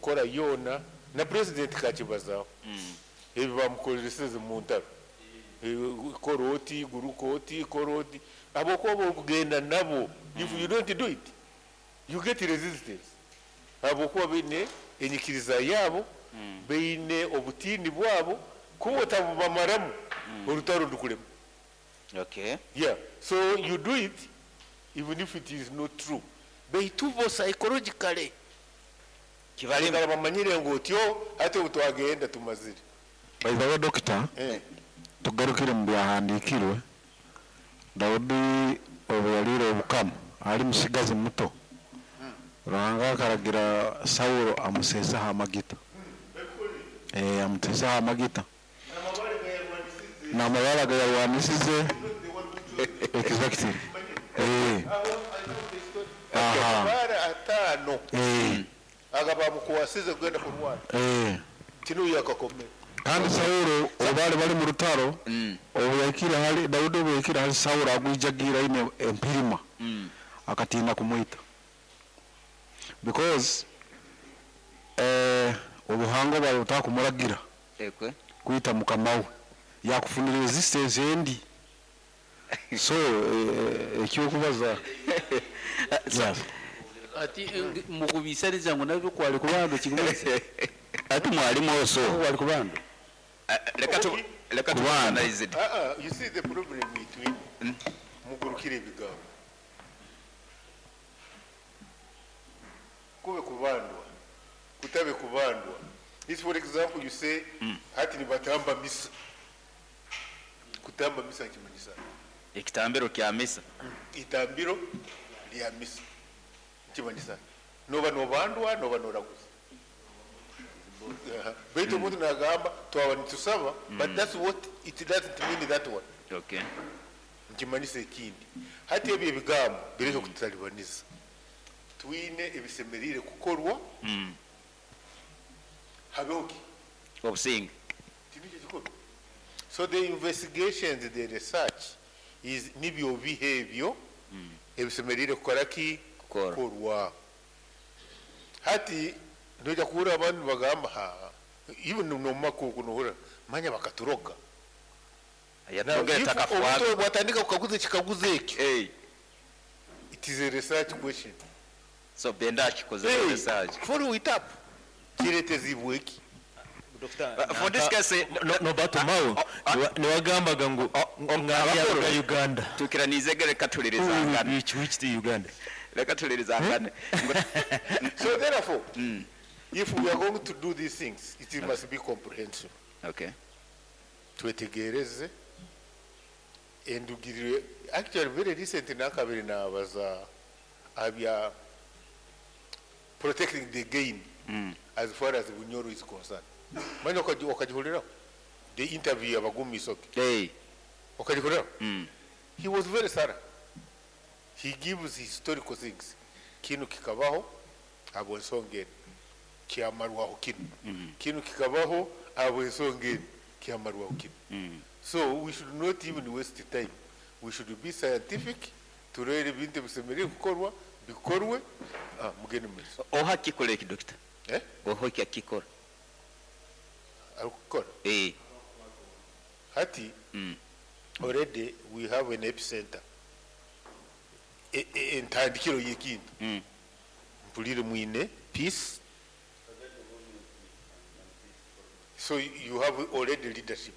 Enkora yoona na president kakibazaho ebi bamukoreseze mu ntaro. Kora oti, guruka oti, kora oti, habwokuba bwokugenda nabo, if you don't do it, you get resistance, habwokuba baine enyikiriza yaabo, baine obutiini bwabo, kuba otabubamaramu, orutaro ndukulema. Okay. Yeah, so you do it even if it is not true, baitu bo psychologically Kibalema. baikara bamanyire ngu otyo, hati obu twagenda tumazire. By the way doctor, tugarukire mu byahandiikirwe, Daudi obu yaliire obukama ali musigazi muto, Ruhanga akaragira Saulo amuseeseho amagita. Amuseeseho amagita. N'amabara agayarwanisize. Exactly. Aha. Amabara 5 aga bamukwasize kugenda kurwana. Tinuyo akakomera. Kandi Saulo obu bali bali mu rutaro, obu yahikire hali Daudi, obu yahikire hali Saulo agwijagiire aine empirima, akatiina kumwita. Because obuhango bwali butakumuragira kwita mukama we, yakufunira resistance endi. So ekyokubaza. Yes. Ati mukubisaniza ngu nabyo kwali kubando kigumisa. Ati mwalimu oso. Kwali kubando. Leka tu, leka tu Kubando. analyze it. You see the problem between mugurukire ebigambo. Kube kubandwa, kutabe kubandwa. If for example you say hati nibatamba misa. Kutamba misa kimanyisa. Ekitambiro kya misa. Itambiro lya misa. Kimanyisa. Noba nobandwa, noba noraguza. Baitu omuntu nagamba twaba nitusaba, but that's what it doesn't mean that one. Okay. Nkimanyisa ekindi. Hati ebyo ebigambo bireke kututalibaniza. Twine ebisemerire kukorwa. Habeho ki? Obusinge. Tiniki kikuru. So the investigations, the research is nibyo bihe ebyo ebisemerire kukora ki? Kukorwa. Kukorwa. Hati noja kuhura abantu bagamba ha, even no makuku nohura manya bakaturoga. Yatugere Now, if takafuaga. omuntu bwatandika kukaguza ekikaguzo ekyo. Hey. It is a research question. So benda akikoze Hey, research. Follow it up. Kiretezibwe ki? For this case, No, no, but Mao, niwagambaga ngu abakuru. nga Uganda. Tukiranize reka tulirizangane. Which the Uganda? Reka tulirizangane. So therefore, if we are going to do these things, it must be comprehensive. Okay. Twetegereze endugirire. Actually, very recent nakabiri nabaza abya protecting the gain as far as Bunyoro is concerned. Manya wakajihulira the interview abagumi soke. Hey. Wakajihulira? He was very thorough. He gives historical things. Kinu kikabaho abo ensonga eno kyamarwaho kinu. Kinu kikabaho abo ensonga eno kyamarwaho kinu. So we should not even waste time. We should be scientific. Turere ebintu ebisemerire kukorwa bikorwe. Mugende mu maiso. Oha kikora eki, doctor? Eh? Oha eki akikora? Arikukora? Eh. Hati, already we have an epicenter. Entandikiro y'ekintu. Mpulire mwine peace. So you have already leadership.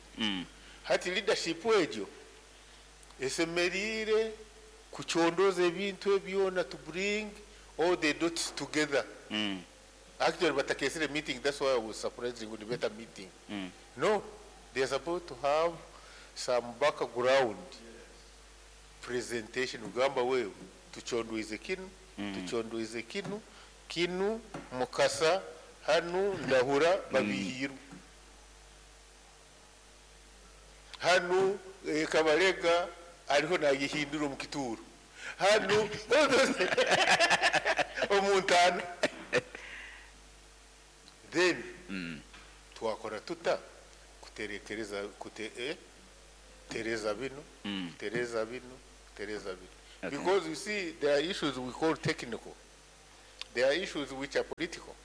Hati leadership egyo esemerire kuchondoza ebintu ebyona to bring all the dots together. Actually, batakesere meeting, that's why I was surprised with the better meeting. No, they are supposed to have some background presentation. Ugamba wewe, tuchondoize kinu, tuchondoize kinu, kinu, mukasa, hanu, ndahura, babihiru. Hanu, Kabarega, ariho nagihindura mu kituro. Hanu, omuntano. Then, twakora tuta kuterekereza, kute tereza bino, tereza bino, tereza bino. Okay. Because you see, there are issues we call technical. There are issues which are political.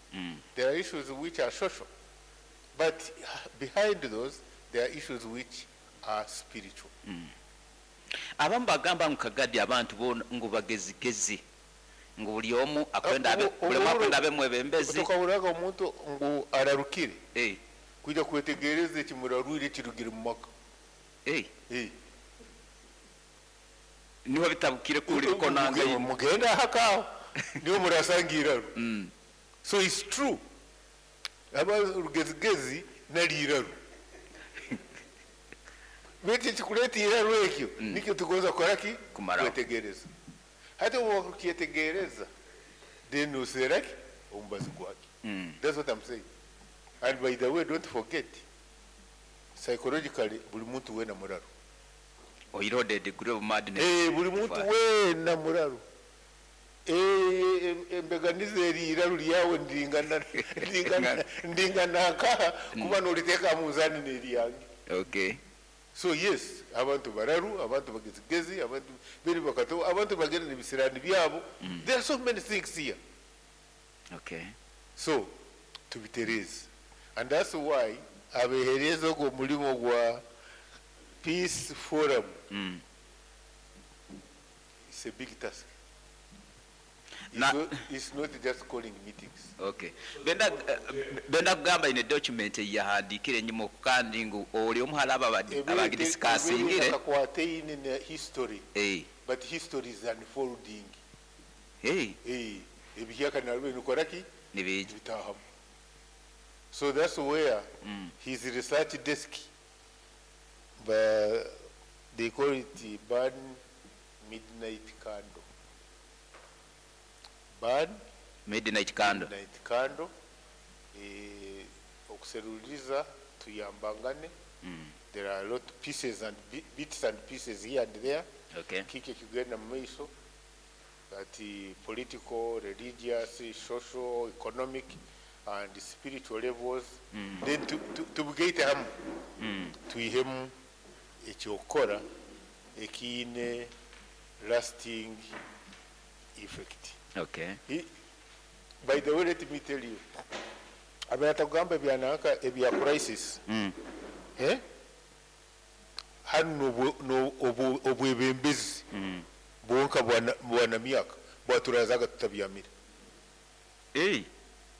There are issues which are social. But behind those, there are issues which are spiritual. Abamu bagamba ngu Kagadi abantu boona ngu bagezigezi, ngu buli omu akwenda abe, buli omu akwenda abe mwebembezi. Tukahuriraga omuntu ngu ararukire kwija kwetegereza ekimurarwire kirugire mu maka. Niho bitabukire kuri bikonanga. Mugenda hakaho niho murasanga iraro. So it's true. Aba rugezigezi nari iraro. Beti kikuleta iraro ekyo nikyo tugonza kukora ki? Kumaraho. Kwetegereza. Hati ukietegereza then useraki ombazi gwake. That's what I'm saying. And by the way, don't forget, psychologically buli muntu wena muraro. Oirode degree of madness. Buli muntu wena muraro. Embeganize eri iraro lyawe ndingana nkaha kuba noliteeka mu nzani n'eryange. So yes, abantu bararu, abantu bagezigezi, abantu beri bakato, abantu bagenda n'ebisirani byabo. There are so many things here. So tubitereze. And that's why abehereza ogwo mulimo gwa Peace Forum. It's a big task. It's not just calling meetings. Okay. Benda kugamba ine document yahandikire enyuma kandi ngu oli omuhala abagidiscussingire. Akakwate ine history. But history is unfolding. Ebihyaka nalwe nikoraki? Nibiji. Bitahamu. So that's where his research desk, but they call it burn midnight candle. Burn midnight candle. Midnight candle. Okuseruliza tuyambangane. There are a lot of pieces and bits and pieces here and there. Kike kigenda mu maiso. That political, religious, social, economic, and spiritual levels. Then tubugeite hamu. Tuihemu ekyokora ekiine lasting effect. By the way, let me tell you, abatagamba ebyanaka ebya crisis. Hano obwebembezi bwonka bwana myaka bwaturazaga tutabyamira.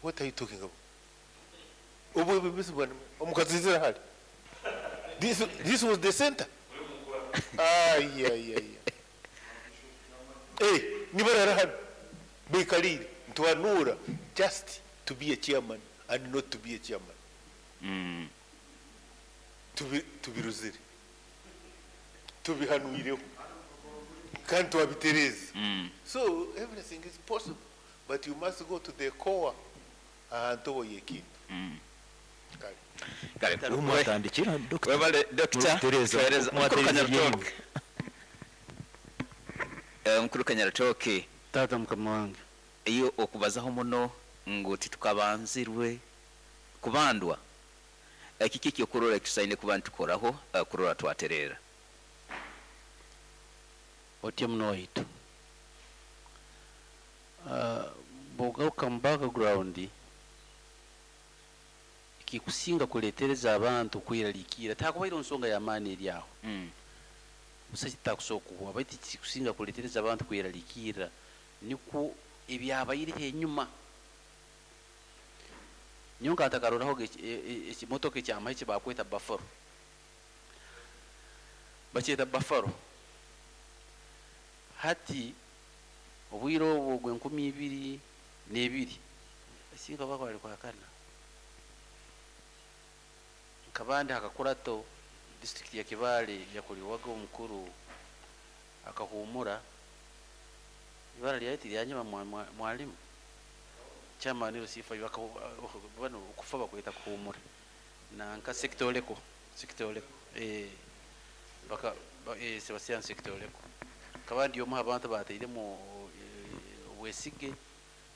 What are you talking about? Obwebembezi bwana omukazizira hali. This was the center. Ay, ay, ay. Nibarara hano. Bekalire ntwanura just to be a chairman and not to be a chairman. Tubiruzire. Tubihanuireho. Kandi twabitereze. So everything is possible, but you must go to the core ahantu oyekintu. Kale. Umwatandikira doctor. Webale doctor. Tereza. Tereza. Mukuru Mwatereza. Kanyaratoke. Mukuru Kanyaratoke. Tata mukama wange. Iyo okubazaho muno ngu titukabanzirwe kubandwa. Kiki kyokurora kisaine kuba ntukoraho kurora twaterera. Otye muno waitu. Bwogaruka mu background kikusinga kuletereza abantu kweralikira takubaire nsonga ya maani eri aho. Busa kitakusobola kuhwa baitu kikusinga kuletereza abantu kweralikira niko ebyabaire enyuma. Nyonka atakaroraho ekimotoka ekyamahe kyebakweta Buffalo. Bakyeta Buffalo. Hati obwire obwo gwe 2002 singa bakwali kwakana. Nkabandi akakurato district ya Kibale yakuliwaga omukuru akahumura ibara lyati lyanyuma mwalimu chama niyo sifa bano okufa bakweta kuhumura na nka sector leko baka Sebastian sector leko kabandi yo abantu bateiremo obwesige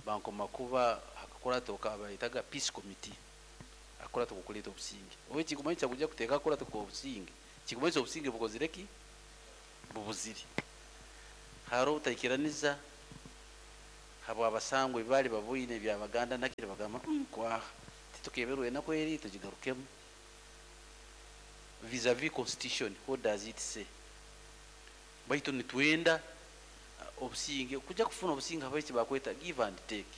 bankoma kuba akakurato kabayitaga peace committee akora tukukuleta obusinge owe kikumanyi kujja kuteeka akora tuko obusinge kikumanyi obusinge bukozireki bubuziri haro utaikiraniza Habwabasangwa ebibaali baboine ebyabaganda nakire bagamba, kwaha titukeberwe enaku eri tugigarukemu. Vis-a-vis constitution, what does it say? Baitu nitwenda obusinge, kujja kufuna obusinge habaitu bakweta give and take.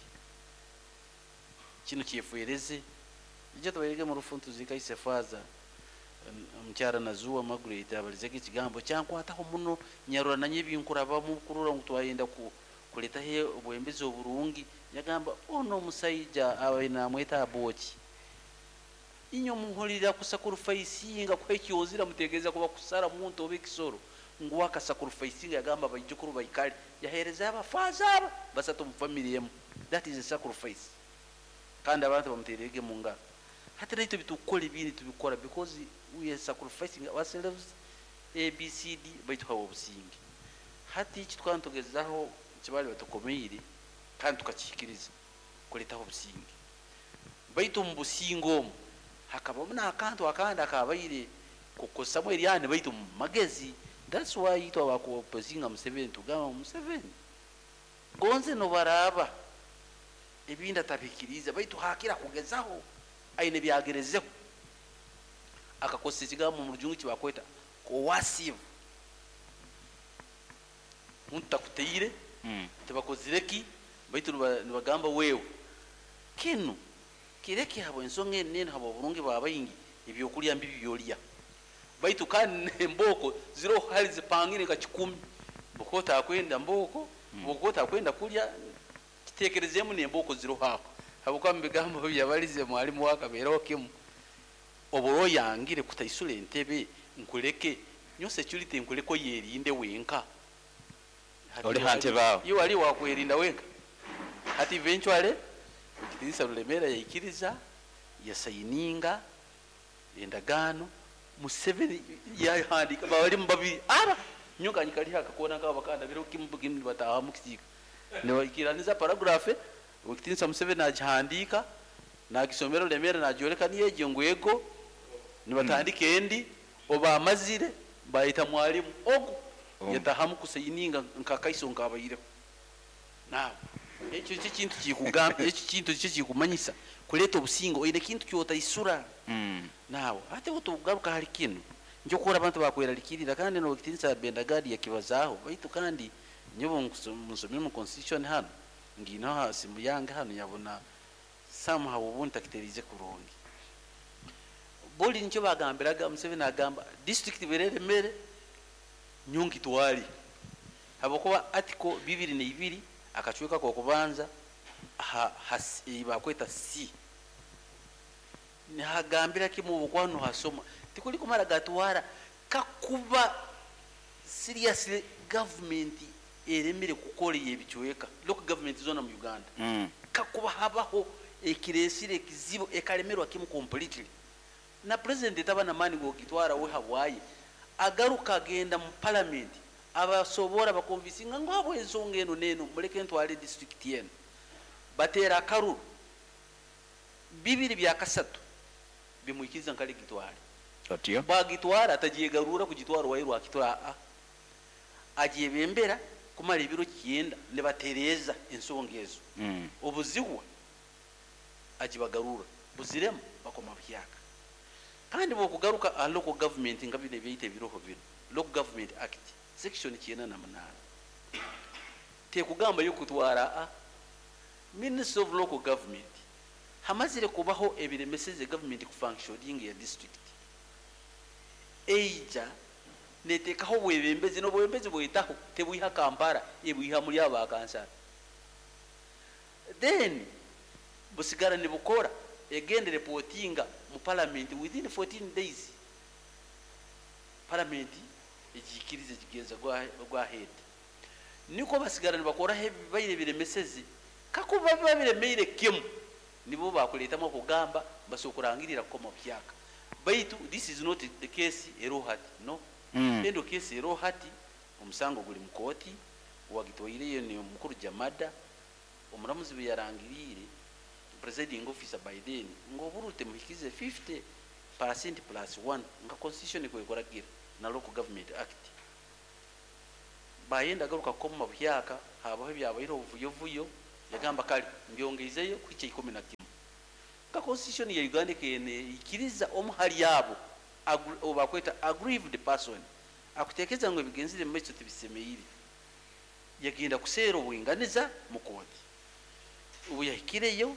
Kino kyefwereze ijja tubairege mu rufu ntuzika ise faza omukyara Nazuwa Margaret abalizege ekigambo kyankwataho muno, nyarora nanye ebinkurabamu kurora ngu twayenda kuletaho obwembezi oburungi. Yagamba ono omusaija abaire namweta Aboki, inywe muhulira kusacrificinga kuha ekyozira, mutegereza kuba kusara muntu oba ekisoro, ngu akasacrificinga. Yagamba abaijukuru baikale, yahereza abafaza aba basatu mu family emu. That is a sacrifice, kandi abantu bamuterege mu ngaro. Hati naitwe bitukukora ebindi tubikora because we are sacrificing ourselves ABCD, baitu hawa obusinge. Hati eki tukaba nitugezaho kibali batukomeire kandi tukakihikiriza kuletaho obusinge, baitu omu businge omu hakabamu n'akantu akandi akabaire kukosamu eryani, baitu mu magezi. That's why itwe abakuopozinga Museveni tugamba Museveni gonze nobaraba ebindi atabikiriza, baitu hakira kugezaho aine byagerezeho akakozesa ekigambo mu rujungu kibakweta coercive. Muntu takuteire, tibakozire ki, baitu nibagamba wewe kinu kireke habwa ensonga enu nenu, habwa oburungi bwa baingi, ebyokulya mbibi byolya, baitu kandi emboko ziroho hali zipangire nka 10, bwokuba otakwenda mboko, bwokuba otakwenda kulya kitekerezemu nemboko ziroho aho. Habwokuba mu bigambo byabalize mwalimu wakabeeraho kimu, oba oyangire kutaisura entebe nkuleke nyo security nkuleke oyerinde wenka. Oli ha ntebe aho. Iwe wali wakwerinda wenka. Hati eventually Ekitinisa Rulemera yaikiriza, yasayininga endagaano. Museveni yahandika balimu babiri aba nyoka nyikali akakona kaba bakanda biro kimu kimu bataha mu kisiika nibaikiraniza paragraph. Ekitinisa Museveni agihandika nagisomera Rulemera, nagyoleka niyejo ngwego nibatandika endi oba amazire bayita mwalimu ogu yatahamu kusayininga nkakaiso nkabaireho. Nawe ekyo kyo kintu kikugamba, ekyo kintu kyo kikumanyisa kuleta obusingo oine kintu kyotaisura. Nawe ate otugaruka hali kinu njokora abantu bakweralikirira, kandi no Ekitinisa Bendagadi yakibazaho, baitu kandi nyobo nsomire mu constitution hano ngino ha simu yange hano yabona somehow ubundi takiterize kurungi. Boli nicho bagambiraga Museveni agamba district berere mere nyonki twali, habwokuba article 22 akacweka ko kubanza bakweta C nihagambira kimu obukwano hasoma tikuli kumara gatwara kakuba seriously government eremire kukora ebicweka local government zona mu Uganda, kakuba habaho ekiresire ekizibu ekalemerwa kimu completely na president etaba na mani gokitwara we habwaye, agaruka agenda mu parliament abasobora bakonvisinga ngo abo ensonga eno neno muleke ntwale district yeno, batera akaruru 2/3 bimwikiriza nkali gitwale. Otyo bagitwara atajiyegarura kugitwara wairwa akitora a ajebembera kumara ebiro 9 nebatereza ensonga ezo. Obuzigwa ajibagarura buziremu bakoma byaka. Kandi bokugaruka a local government nga bine byite biroho bino Local Government Act section 98 tekugamba yo kutwara a Minister of Local Government hamazire kubaho ebiremeseze government ku functioning ya district eija netekaho bwebembezi n'obwebembezi bwetaho tebwiha Kampala ebwiha muri aba kansala, then busigara nibukora egende reportinga mu parliament within 14 days. Parliament ejikirize kigenza gwa head niko basigara nibakora ebibaire biremeseze kakuba biba biremeire kimu nibo bakuletamo kugamba basokurangirira koma byaka. Baitu this is not the case erohati no. Endo case erohati omusango guli mukoti wagitwaireyo ni omukuru Jamada omuramuzi bwe yarangirire presiding officer by then ngo burute muhikize 50% plus 1 nga constitution kwekoragira na Local Government Act. Bayenda garuka koma buhyaka habaho ebyabaire obuvuyovuyo Yagamba kale mbyongeizeyo kuhikya 11. Nka constitution ya Uganda kene ikiriza omu hali abo obakweta aggrieved person akutekeza ngo ebigenzire mu maiso tibisemeire, yagenda kuseera obwinganiza mu kooti. Ubu yahikireyo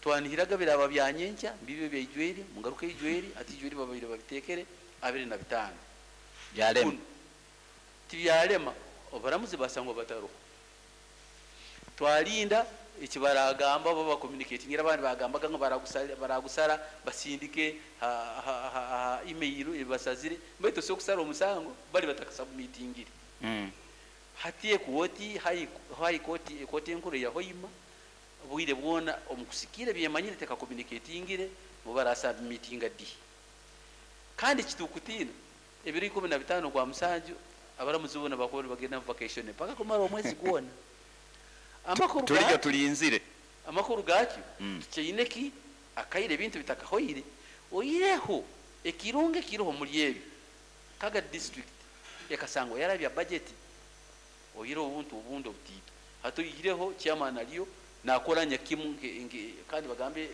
twanihiraga biraba byanyenkya mbibyo byaijweri mungaruka ijweri ati ijweri babaire babitekere 25 byalema tibyalema obaramuzi basangwa bataruho. Twalinda ekibaragamba baba communicating abandi bagambaga ngo baragusara basindike ha email ebasazire baitu so kusara omusango bali batakasubmitingire. Hati ekoti high court ekoti enkuru ya Hoima bwire bwona omukusikire byemanyire teka communicatingire mu barasubmitinga di kandi kitukutina ebiri 15 kwa musanju abaramuzi bona bakora bagenda vacation paka kumara omwezi gwona. Amakuru tulijya tulinzire amakuru gakyo tukyeineki akaire ebintu bitakahoire oyireho ekirunge kiroho muri ebi Kaga district ekasango yarabya budget oyireho ubuntu ubundi obutito hatuyireho chairman aliyo nakoranya kimu kandi bagambe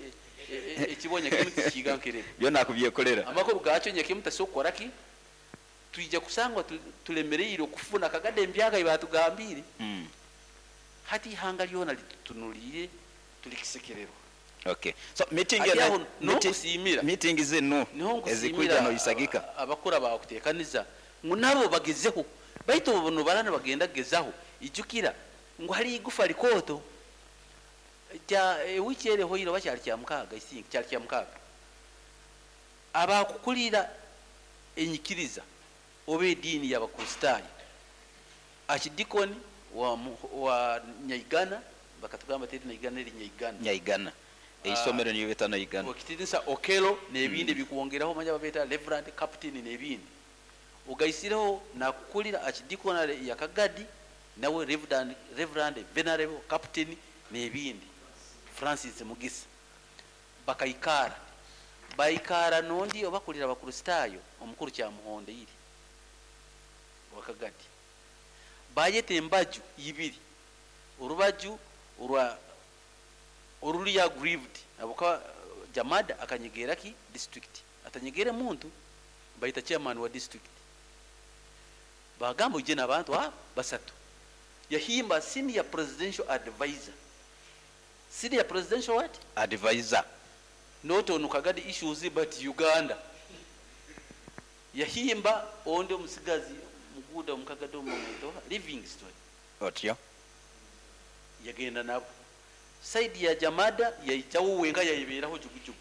ekibonya kimu tikiga nkerebe byo nakubyekolera amakuru gakyo nyakimu tasokora ki tuija kusangwa tulemereire okufuna Kagade embyaga ibatugambire. Hati ihanga lyona litutunuliire tulikisekererwa. Okay, so meeting ya no kusimira meeting zinu ezikuja no isagika abakura bakutekaniza ngo nabo bagezeho baitu bono barana bagenda gezaho ijukira ngo hari igufa likoto kya wiki ere hoiro bacyari kya mukaga, I think cyari kya mukaga abakukulira enyikiriza obe dini y'abakristayo archdeacon wa Nyaigana bakatugamba teri Nyaigana eri Nyaigana Nyaigana eisomero niyo beta Nyaigana okitinsa Okelo nebindi bikuongeraho manya babeta Reverend Captain nebindi ugaisireho nakukulira archdeacon ya Kagadi nawe Reverend Venerable Captain nebindi Francis Mugisa bakaikara baikara nondi obakulira abakristayo omukuru kya Muhonde iri wakagadi bayete embaju ibiri orubaju orwa oruli ya grieved abuka Jamada akanyegera ki district atanyegere muntu baita chairman wa district bagamba uje n'abantu basatu yahimba senior presidential advisor. Senior presidential what? Advisor. Not on Kagadi issues but Uganda. Yahimba onde omusigazi muguda omukagadi omuto Livingstone otyo yagenda nabo side ya Jamada yaitawo wenga yayiberaho jugujugu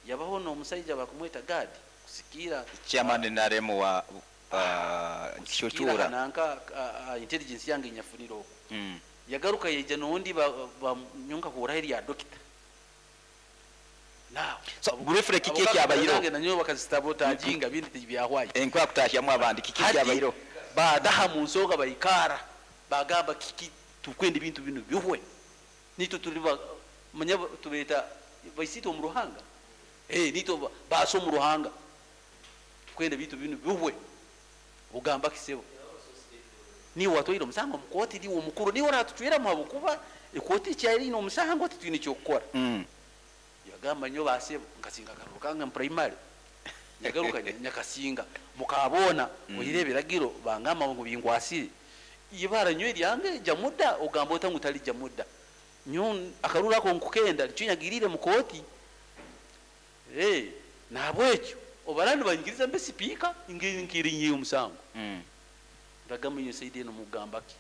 yabaho no omusajja bakumweta guard kusikira chairman naremu wa Kishuchura nanka intelligence yange nyafuniro okwo. Yagaruka yeja nondi ba nyonka kurahiri ya doctor now. So briefly kiki kyabayiro nanyo bakazistabota ajinga bindi byahwaye enkwa kutashyamu abandi kiki kyabayiro badaha mu nsoga bayikara bagamba kiki tukwenda ibintu bino bihwe nito tuli manya tubeta baisito mu ruhanga nito baso mu ruhanga tukwenda bintu bino bihwe ugamba kisebo ni watwire omusango mukoti ndi omukuru ni oratucwera mu bukuba ekoti kyari no omusango titwine kyokukora. Yagamba nyo basebo nkasinga karukanga primary nyagaruka nyakasinga mukabona oyirebera bangamba ngo bingwasire ibara nyo ryange jamuda ogamba otangu tali jamuda nyo akarura ko nkukenda cyunyagirire mukoti nabwekyo obarandi bangiriza mbe speaker ngirinyi omusango. Ndagamba nyo saidi eno mugamba ki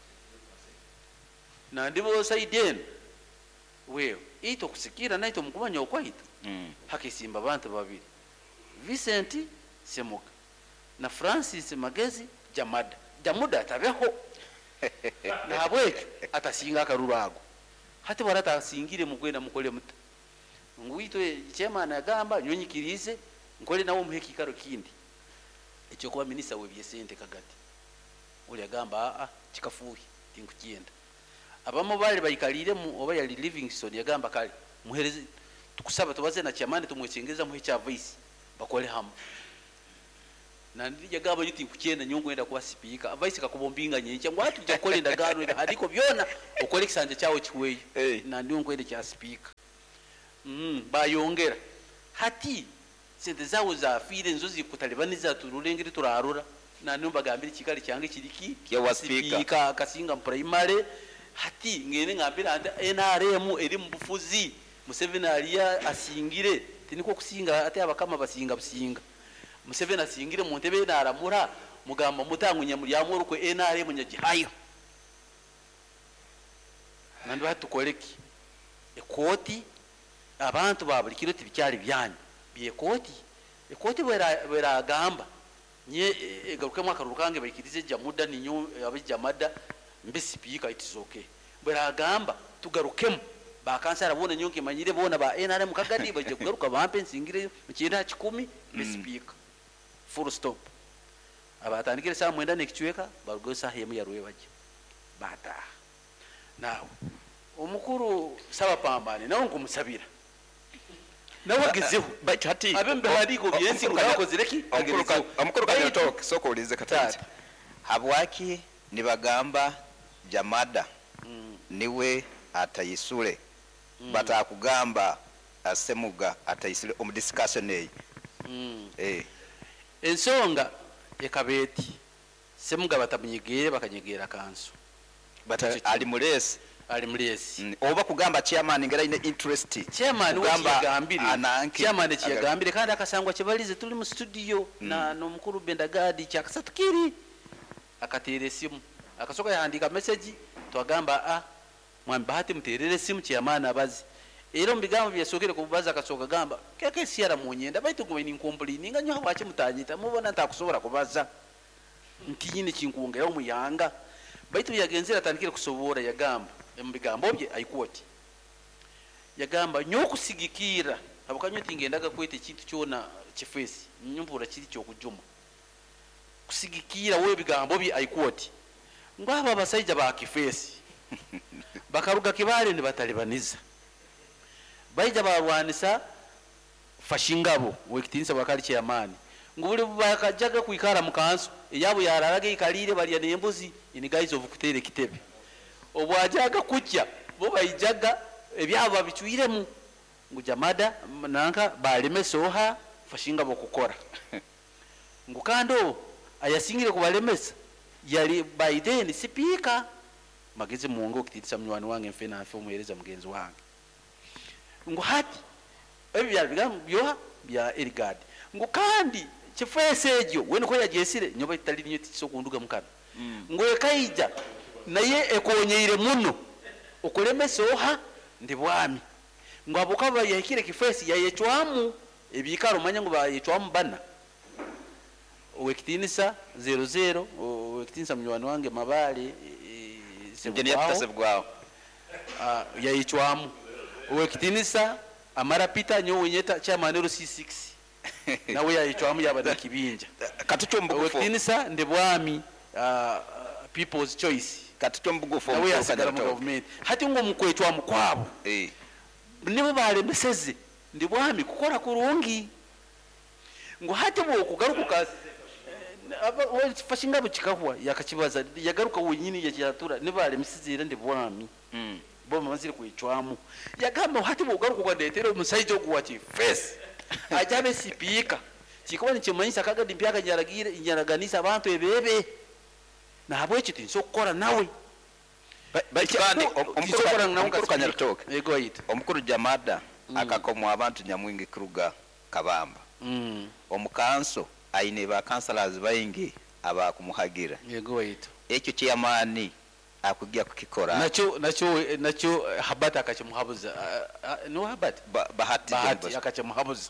nandibo saidi eno wewe ito kusikira naito mukubanya okwaito. Hakisimba abantu babiri Vincent Semuka na Francis Magezi Jamada. Jamuda atabeho nabwekyo atasinga akarurago hati waratasingire mugwenda mukole muta ngwitwe chairman agamba nyonyikirize nkole nawo muhe kikaro kindi ekyo kuba minister we byesente Kagati uli agamba a kikafuhi tinkugenda abamo bali bayikalire mu oba yali Livingstone yagamba kale muhereze tukusaba tubaze na chairman tumwechengeza muhe cha voice bakole hamu. Nandijagamba yuti nkukyenda nyo nkwenda kuba sipiika, vice kakuba ompinga nyenkya ngu ati tujja kukola endagaano ebihandiiko byona okole ekisanja kyawe kiweeyo. Nandi nkwenda kya sipiika. Bayongera hati sente zawe zafiire nizo zikutalibaniza turulengere turarura. Nandi mbagambire kikali kyange kiriki Kya sipiika. Sipiika Kasinga primary. Hati ngende ngambira nti NRM eri mu bufuzi, Museveni aliya asingire, tiniko kusinga ate abakama basinga businga. Museveni asingire mu ntebe naramura mugamba mutangunya mulyamu orukwe NRM nyagihayo. Nandi batukoleki ekoti abantu ba buli kiro tibikyali byanyu byekoti ekoti bweragamba nye egarukemu akaruru kange baikirize jamuda ninyo abijamada mbe sipiika it is okay. Bweragamba tugarukemu bakansara bona nyonke manyire bona ba NRM kagadi baje kugaruka bampe nsingire mu 90 mbe sipiika full stop. Abatandikire saa 9 n'ekichweka barugo saa yemu yarwe baje bata. Nawe omukuru saba pambane nawe nkumusabira nawe agezeho Baitu hati abe mbihandiiko byensi ngakozire ki omukuru Kanyatoke soko ulize katati habwaki nibagamba Jamada niwe atayisule batakugamba Asemuga atayisule omu discussion eyi. Ensonga ekabeti Semuga batamunyegere bakanyegera kanso bata ali mulesi ali mulesi oba kugamba chairman ngera ine interest chairman wekiyagambire chairman kiyagambire kandi akasangwa kibalize tuli mu studio na nomukuru Bendagadi kyakasatukiri akatere simu akasoka yahandika message twagamba mwami Bahati muterere simu chairman abazi era mu bigambo byasokere kubaza akasoka gamba keke siara munyenda baitu gwe ni complain nga nyo habaki mutanyita mubona ntakusobora kubaza nti nyine kinkuongera omuyanga baitu yagenzera atandikire kusobora yagamba mu bigambo bye aikwoti yagamba nyo kusigikira abakanyo tingendaga kwete kintu kyona kifesi nyumbura kiri cyo kujuma kusigikira we bigambo bye aikwoti ngaba abasajja ba kifesi bakaruga kibale ni batalibaniza baija barwanisa fashingabo wekitinsa bakali chairman ngubuli bakajaga kuikara mukansu eyabo yararaga ikalire balya nembuzi in guise of kutere kitebe obwajaga kutya bo baijaga ebyabo babichwiremu ngu Jamada nanka baleme soha fashingabo kukora ngu kando ayasingire kubalemesa yali Biden sipika magezi muongo kititisa mnywani wange mfena afe omuhereza mugenzi wange ngu hati ebyo byali bigambo byoha bya Erigad ngu kandi kifese egyo we niko yagyesire nyoba itali ninyo tikiso kunduga mukana ngu ekaija naye ekonyeire muno okulemesa oha ndi bwami ngu abukaba yahikire kifesi yayecwamu ebikaro manya ngu bayecwamu bana owekitinisa 00 owekitinisa munywani wange Mabale Sebugwawo yayecwamu owekitinisa Amara Peter nyowe nyeta chairman C6 nawe yayecwamu yaba kibinja katucho mbugufu owekitinisa ndi bwami people's choice katucho mbugufu nawe yasigala mu government hati ngo mukwecwamu kwabo nibo balemeseze ndi bwami kukora kurungi ngo hati bo kugaruka fashinga bukikahwa yakakibaza yagaruka wenyini yakiyatura nibalemeseze ndi bwami bo bamazire kwecwamu yagamba hati bo kugaruka kwandetera omusajja ogwa kifesi ajabe sipika kikuba nikimanyisa kagadi mpyaka nyaragire nyaraganisa abantu ebebe nahabwekyo tinso kukora nawe kandi omukuru Kanyaritoke yego yita omukuru Jamada akakomwa abantu nyamwingi kuruga Kabamba omukanso aine ba councillors baingi abakumuhagira yego yita ekyo chairman akujja kukikora nakyo Habati akakimuhabuza no Habati Bahati akakimuhabuza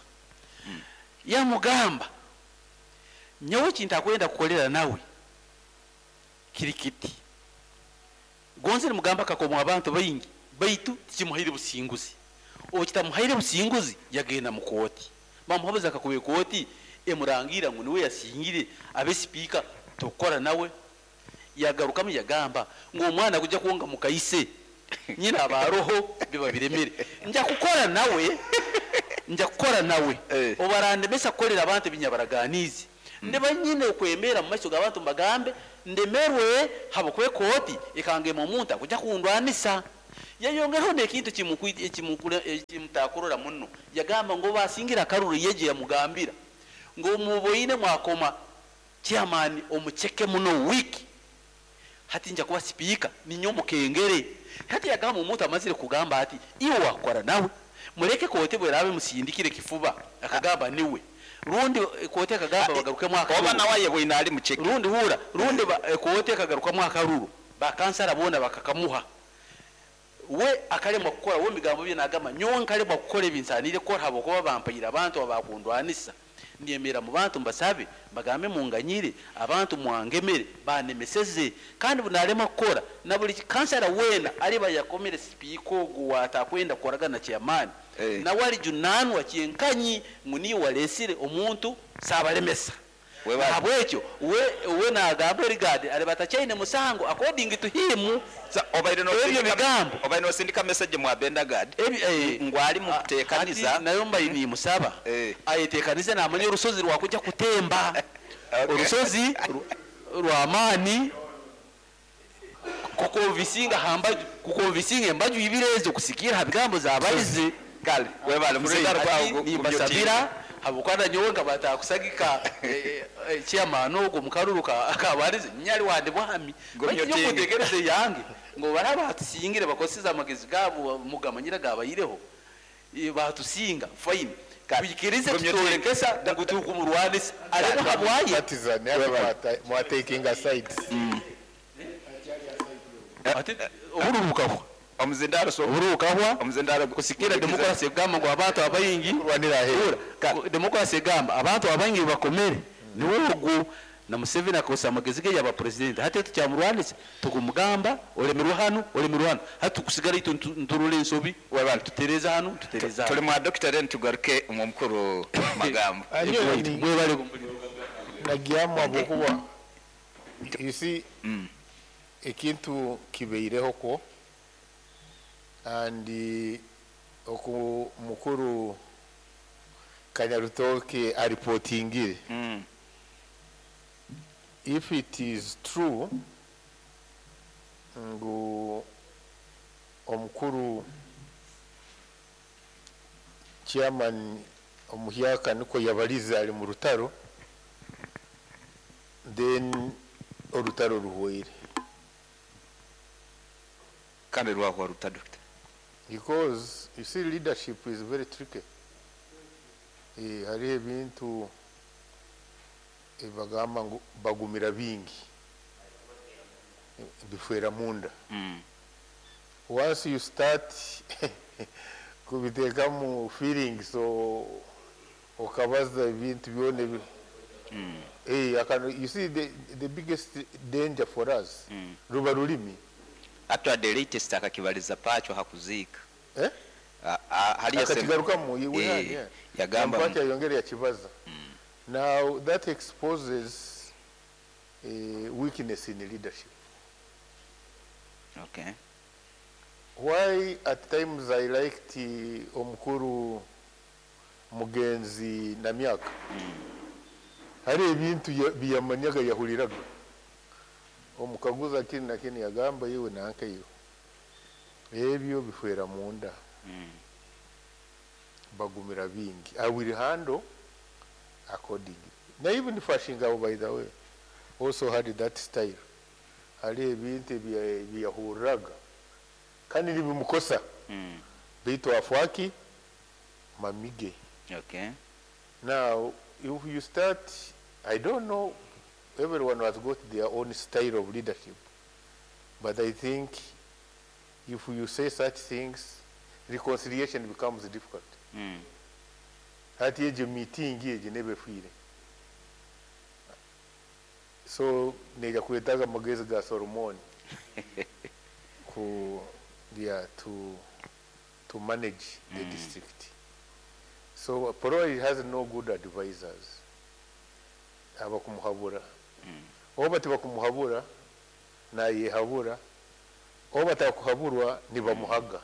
yamugamba nyowe kintakwenda kukolera nawe kirikiti gonze mugamba kakomwa abantu baingi baitu tikimuhaire businguzi okitamuhaire businguzi yagenda mu kooti bamuhabuza akakube kooti emurangira ngu niwe yasingire abe speaker tokora nawe yagarukamu yagamba ngo omwana kujja kuwonga mukaise nyina abaroho biba biremere nja kukora nawe nja kukora nawe obarandemesa kukolera abantu binyabaraganizi. Ndiba nyine okwemera mu maiso g'abantu mbagambe ndemerwe habwokuba ekooti ekangema omuntu akujja kundwanisa. Yayongeraho n'ekintu ekimutakurora muno, yagamba ngu basingira akaruru yeje yamugambira ngu muboine mwakoma chairman omucheke muno wiki hati nja kuba speaker ninyo mukengere. Hati yagamba omuntu amazire kugamba ati iwe wakora nawe mureke kote bwerabe musindikire kifuba, akagamba niwe rundi kote akagamba bagaruke mwaka oba nawe yebwina ali mucheke rundi hura rundi kote akagaruka mwaka ruru bakansara bona bakakamuha we akalemwa kukora we migambo bye nagamba nyowe nkalemwa kukora ebinsanire kukora habwokuba bampaire abantu abakundwanisa ndiyemera mu bantu mbasabe bagambe munganyire abantu mwangemere banemeseze kandi bunalema kukora na buli kansara wena aliba yakomere speaker ogu watakwenda kukoragana chairman na wali junanwa kyenkanyi nguni walesire omuntu sabalemesa habwekyo we nagamba rigadi alibatachaine musango according to him. Obaire bigambo obaire nosindika message mu abenda gad ngwali mukutekaniza nayo mbaini musaba ayetekanize namanya orusozi rwakujja kutemba orusozi rwamani kukonvisinga hamba kukonvisinga embaju ibirezo kusikira habigambo zabalize kale webale musindaro kwa nimbasabira habukwana nyowe nga batakusagika chairman ogo mukaruruka akabarize nyali wande bwami bakinyo yange ngo baraba batusingire bakosiza amagezi gabo mugamanyira gabayireho batusinga fine bikirize tutorekesa ngutukumurwanisa ariko habwaye partizan mwa taking sides ati oburubuka omuzindaro so oburubuka omuzindaro kusikira demokrasi egamba ngo abantu abayingi kurwanira hera demokrasi egamba abantu abayingi bakomere niwe ogu na Museveni akosa amagezi ge yaba president hati tukyamurwanisa tukumugamba olemerwa hano olemerwa hano hati tukusigara itu nturule ensobi tutereza hano tutereza tuli mwa doctor then tugaruke mu mukuru magambo mwebale nagyamu abokuba you see ekintu kibeireho ko and oku mukuru Kanyarutoke aripotingire if it is true ngu omukuru chairman omuhyaka niko yabaliza ali mu rutaro then orutaro ruhweire kandi rwahwa ruta doctor because you see leadership is very tricky. Hariho ebintu bagamba ngu bagumira bingi bifwera munda. Once you start kubitekamu feelings so okabaza ebintu byone you see the biggest danger for us ruba rulimi. Actually the latest akakibaliza pacho hakuzika hali akatigarukamu yagamba pacho yongere yakibaza. Now that exposes a weakness in leadership. Okay. Why at times I liked omukuru Mugenzi Namyaka. Hari ebintu biyamanyaga yahuliraga. Omukaguza kini na kini yagamba yiwe nanka yiwe. Ebyo bifwera munda. Bagumira bingi. I will handle accordingly. Now even Fashinga, by the way, also had that style. Hari ebintu biyahuraga. Kandi nibimukosa. Bitu afwaki mamige. Okay. Now, if you start, I don't know, everyone has got their own style of leadership. But I think if you say such things, reconciliation becomes difficult. Hati ejo meeting ejo nebefwire. So neja kuetaga magezi ga Solomon ku yeah to manage the district. So probably has no good advisors. Abakumuhabura. Oba tibakumuhabura na yehabura oba takuhaburwa nibamuhaga.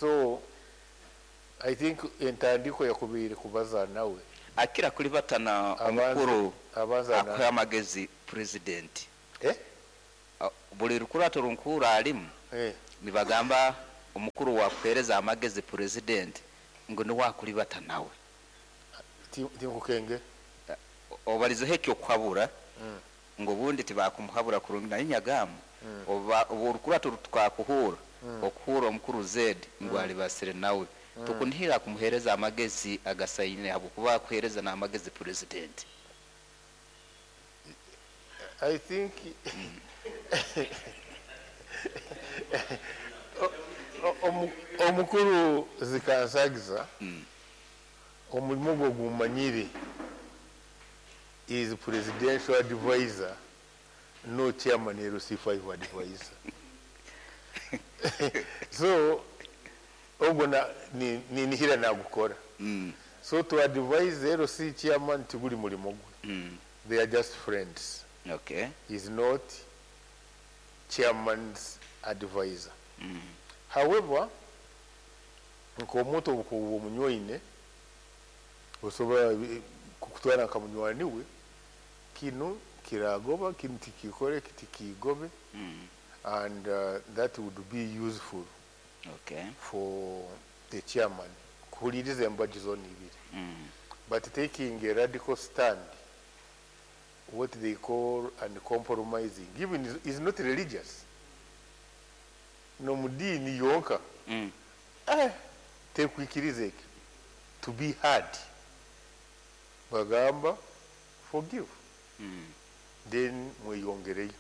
So I think entandiko yakubire kubaza nawe. Akira kulibatana omukuru akuha amagezi president. Buli rukurato runkura alimu nibagamba omukuru wakuhereza amagezi president ngo ni wakulibata nawe. Tinkukenge obalizeho ekyo kuhabura ngo bundi tibakumuhabura kurungi naye nyagamu oba orukurato tukakuhura okuhura omukuru Z ngo alibasire nawe. Tukunihira kumuhereza amagezi agasaine habwokuba kuhereza n'amagezi president. I think omukuru zikansagiza omulimu gwe gumanyire is presidential advisor, no chairman LC5 advisor. So ogwo ninihira nagukora. So to advise LC chairman tiguli mulimo gwe. They are just friends. Okay. He's not chairman's advisor. However, nkomuntu obukubu omunywaine osobola kukutwara nka munywani we, kino kiragoba, kino tikikore, kitikigobe, and that would be useful for the chairman kuhuliriza embaji zona ibiri. But taking a radical stand, what they call uncompromising, even is not religious. No mudini yonka. Tekwikiriza ekyo. To be hard. Bagamba, forgive. Then mweyongereyo.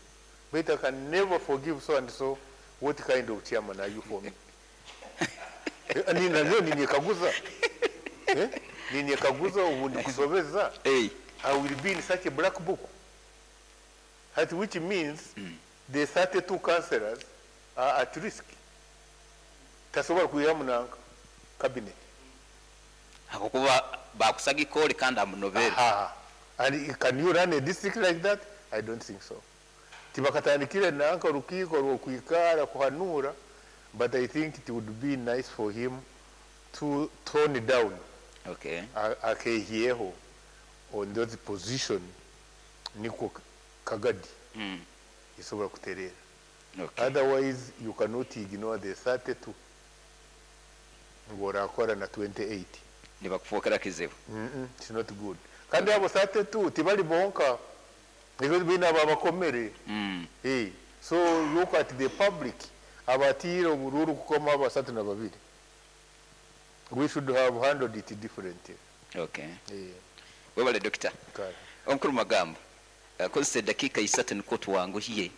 But I can never forgive so and so. What kind of chairman are you for me? Nina leo ninyekaguza. Ninyekaguza ubundi kusobeza. I will be in such a black book. That which means the 32 councillors are at risk. Tasobola kuyamu na cabinet. Hakukuba bakusaga ikoli kandi amunovera. And can you run a district like that? I don't think so. Tibakatandikire nanka rukiiko rwokwikara kuhanura, but I think it would be nice for him to tone down. Okay. Akehieho on that position niko kagadi. Isobola kuterera. Okay. Otherwise you cannot ignore the 32. Ngorakora na 28. Nibakufokera kizibu. It's not good. Kandi abo 32 tibali bonka. Because bina babakomere. Hey, so look at the public. Abatira obururu kukoma abasatu na babiri. We should have handled it differently. Okay. Yeah. Webale doctor. Omukuru Magambo. Kozesa dakika 3 niko tuwanguhiye.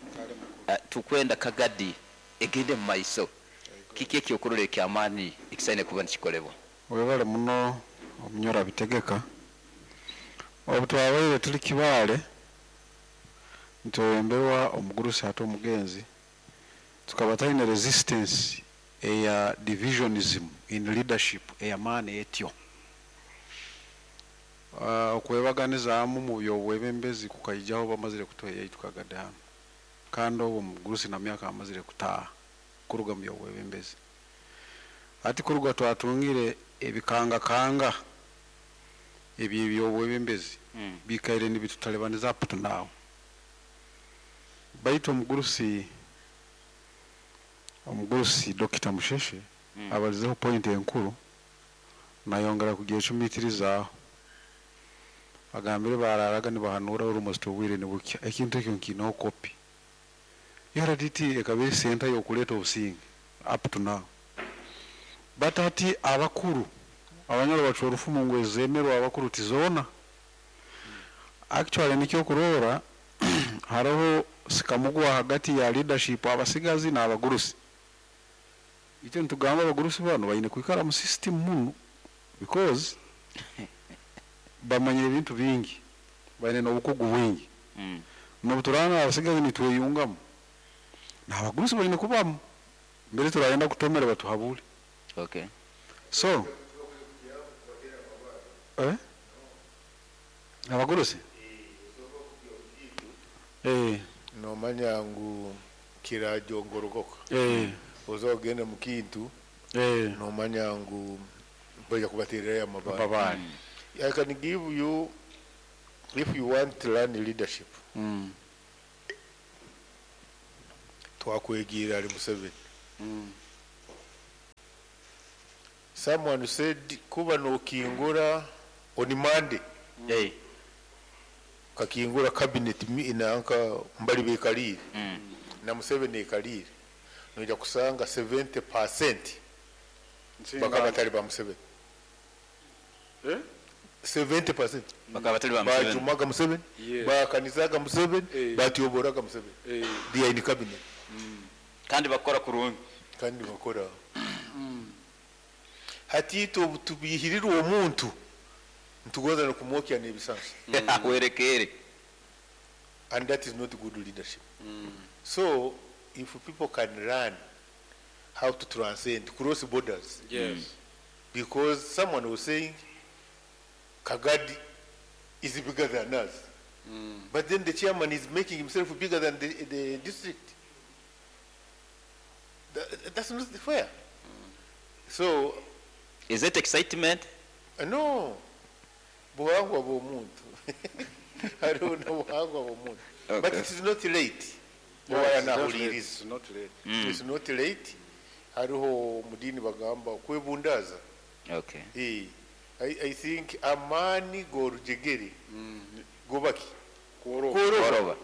Tukwenda kagadi egende mu maiso. Kiki ekyokurora ekyamaani ekisaine kuba nikikolebwa? Webale muno omunyora bitegeka. Obu twabaire tuli Kibaale ntwemberwa omugurusi ate omugenzi tukaba talina resistance eya divisionism in leadership eyamaani etyo. Okwebaganizaamu mu byobwebembezi kukaijaho bamazire kutuheya tukagade hano. Kandi obwo omugurusi na myaka amazire kutaaha kuruga mu byobwebembezi. Ati kuruga twatungire ebikangakanga ebyo byobwebembezi bikaire nibitutalibaniza up to now. Baitu omugurusi Dr. Musheshe abalizeho point enkuru nayongera kugyecumitirizaaho. Agambire bararaga nibahanura almost obwire nibukya ekintu ekyo nkiinaho kopi. URDT ekaba eri center y'okuleeta obusinge up to now. But ati abakuru abanyoro bacwa orufumu ngu ezemerwa abakuru tizoona. Actually nikyo kurora hariho sikamugwa hagati ya leadership abasigazi n'abagurusi. Itwe nitugamba abagurusi bano baine kwikara mu system muno because bamanyire ebintu bingi, baine n'obukugu bwingi. N'obuturana abasigazi nitweyungamu n'abagurusi baine kubamu mbere turayenda kutomera batuhabule. Okay. So abagurusi nomanya ngu kirajongorogoka. Ozogende mu kintu nomanya ngu baija kubatererayo amabare. I can give you, if you want to learn leadership, twakwegiira ali Museveni. Someone said kuba nokingura on Monday. Hey. Kakingura cabinet nanka mbali bekalire. Na Museveni ekalire. Noja kusanga 70% bakaba batali ba Museveni. Eh? 70% Bakaba batali ba Museveni. Bajumaga Museveni, Yes. bakanizaga Museveni, Eh. batyoboraga Museveni. Eh. They are in cabinet. Kandi bakora kurungi. Kandi bakora. Hati tubihirira uwo muntu ntugoza no kumwokya n'ebisansi. Ahwerekere. And that is not good leadership. So if people can learn how to transcend, cross borders. Yes. Because someone was saying Kagadi is bigger than us. But then the chairman is making himself bigger than the district. That's not fair. So, is it excitement? No. Buhangwa bw'omuntu. Hariho n'obuhangwa bw'omuntu. Okay. But it is not late. No, Oba it's not late. yanahuliriza. It's not late. It's not late. Hariho mudini bagamba kwebundaza. Okay. I think amani gorujegere. Gobaki. Kworoba. Kworoba.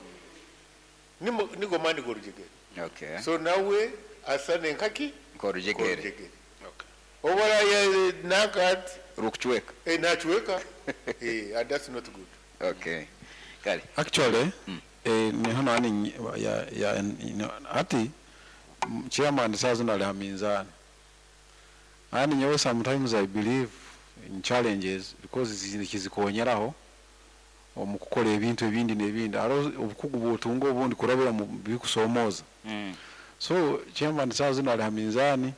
Nigo mani gorujegere. Okay. So nawe asane nkaki Gorujegere. Gorujegere. Okay. Obara ya nakat Rukuchweka. Nachweka. And that's not good. Okay. Kale. Actually, ni hano ani ya ati chairman sazo na haminzani. Ani nyewe sometimes I believe in challenges because zikonyeraho omukukola ebintu ebindi n'ebindi. Aro obukugu bwotunga obundi kurabira mu bikusomoza. So chairman sazo na haminzani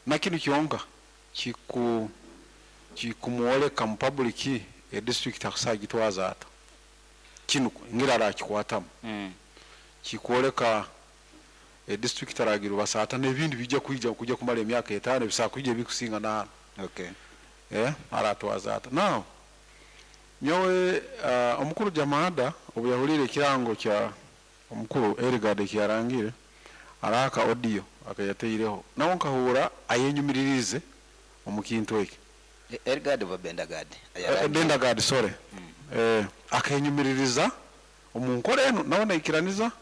na kinu kyonka kikumuoleka mu public e district akusagitwaza ata. Kinu ngirara akikwatamu. Kikwoleka e district aragira basata n'ebindi bijja kujja kumala emyaka 5 bisakujja bikusinga na. Okay. Aratwaza ata. Now nyowe omukuru Jamada obuyahulire ekirango kya omukuru Erigade kyarangire araka audio akayateireho nawo nkahura ayenyumiririze omukintu eki. Erigade oba Bendagade? Bendagade, sorry. Akenyumiririza omunkore eno nawo naikiraniza